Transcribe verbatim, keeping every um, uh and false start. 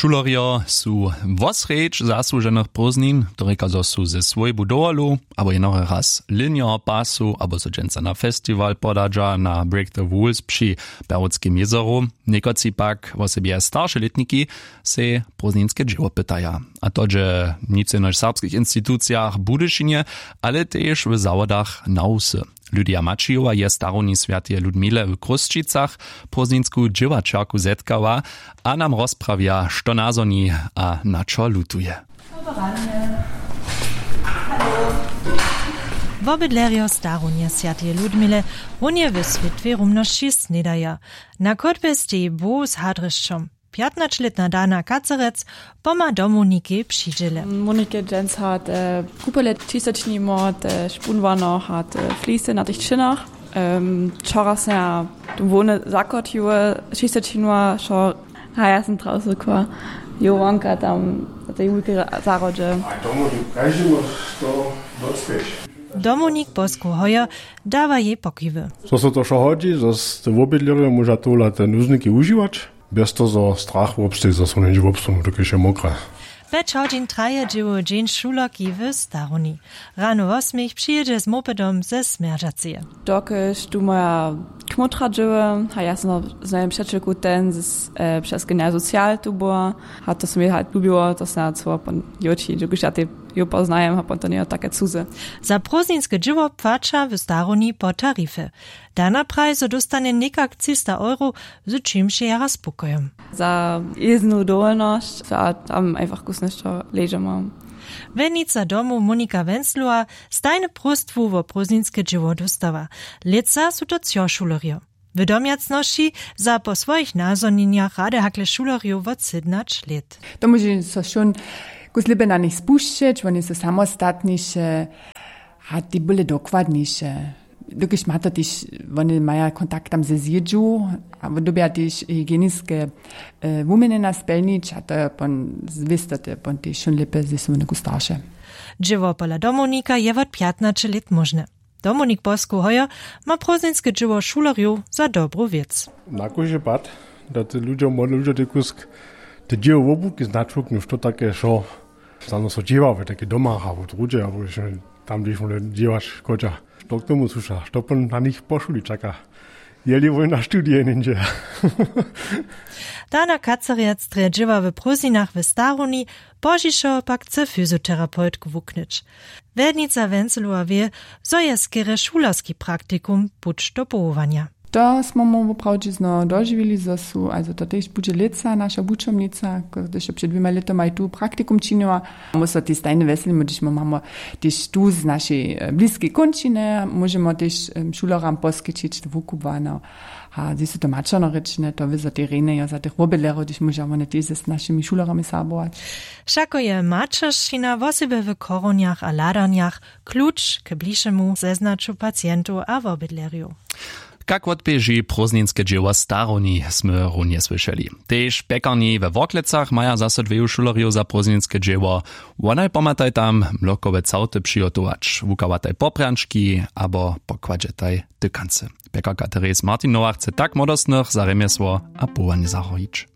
Šulerjo su wosrjedź zasłuženych prózdnin, to rěka zo su ze swójbu dowolu abo jenory raz linjoho pasu abo so dźensa na festiwal podadźa na break the rules při berłuckim jězoru. Někotři pak wosebje starše lětniki sej prózdninske dźěło pytaja, a to dźe nic jenož w serbskich institucijach w budyšinje, ale tež w zawodach na wsy. Lydia maćijowa je starowni swjateje ludmile w chrósćicach prózdninsku dźěłaćerku zetkała a nam rozprawja što nazhoni a na čo lutuje. Wobydlerjo starownje swjateje ludmile runje w swětłej rumnosći snědaja. Na chódbje steji bow z hadrešćom. Pjatnaćlětna dana kacerec pomha domownikej při dźěle. Monikej dźensa te kupele čistočnimo te špunwanoch a te flise na tych činach. Wčora sym ja hłowne zakotiły čistočinła wšo. A ja sym trawsykła jo wonka tam na tej wulkej zahrodźe. A tomu každemu to docpěć. Domownik poskoł hojo dawa jej pokiwy. Zo so to wšo hodźi, zo te wobydlerjo móža tola te nuzniki wužiwać bjez to zo strach wobsteji, zo so něhdźe wobsunu dokelž je mokre. Pjeć hodźin traje dźěłowy dźeń šulerki w starowni. Rano wosmich přijědźe z mopedom ze smjerdźaceje. Dokelž tu moja kmótra dźěły a ja sym z mojim přećelku ten z přez genial social tu była. A to sym jej halt lubiło to sym ja cyło pon joći dokelž ja tej jo poznajem a pon to njejo take cuze. Za prózdninske dźěło płaća w starowni po tarifje. Dana praji zo dóstanje někak třista euro, z čimž je jara spokojom. Za jěznu dowolnosć a tam einfach kusnje što ležo mam. Wjednica domow monika wenzlowa stajne próstwu wo prózdninske dźěło dóstawa. Lětsa su to třo šulerjo. W domjacnosći za po swojich nazhonjenjach rady hakle šulerjow wot sydnać lět. To móže so wšón kus lěpje na nich spušćeć wone su samostatniše. A tej bóle dokładniše. Dokelž ma to tež wone maja kontakt tam ze zjědźu a dyrbja tež hygieniske wuměnjena spjelnić a to je pon zwěstoty pon tež wšón lěpje ze su wone kus starše. Dźěło pola domownika je wot pjatnaće lět móžne. Domownik poskoł hojo ma prózdninske dźěło šulerjow za dobru wěc. Na kóždy pad da te ludźo młode ludźo tej kusk te dźěło wobuki značuknu što take wšo. Snano so dźěła w takej domach abo druhdźe abo tam hdźež móhli dźěłać škodźa. Što k tomu słuša što pon na nich po šuli čaka? Jeli wój na studije něhdźe? Dana kacerjec drje dźěła w prózdninach w starowni, pozdźišo pak chce fyzioterapeutku wuknyć. Wjednica wencelowa wě, zo je skerje šulerski praktikum puć do powołanja. To smy mu woprawdźe znowu dožiwili zo su a zo to tež budźe lětsa naša wučomnica, hdyž jo před dwěma lětomaj tu praktikum činjała. Móhł so tež stajnje wjeselimy hdyž my mamy tež tu z našej bliskej kónčiny móžemy tež šuleram poskićić wukubłano. A zjej su to maćernorěčne to wězo tej rjenje jo za tych wobydlerjow hdyž móža wone tež z našimi šulerami serbować. Wšako je maćeršćina wosebje w chorownjach a hladarnjach kluč k blišemu zeznaću pacientow a wobydlerjow. Kak wotběži prózdninske dźěło starowni smy runje słyšeli. Tež pjekarni we worklecach maja zaso dweju šulerjow za prózdninske dźěło. Wonaj pomhataj tam mlokowe całty přihotować wukawataj poprjančki abo pokładźetaj tykancy. Pjekarka therese martinowa chce tak młodostnych za rjemjesło a powołanje zahojić.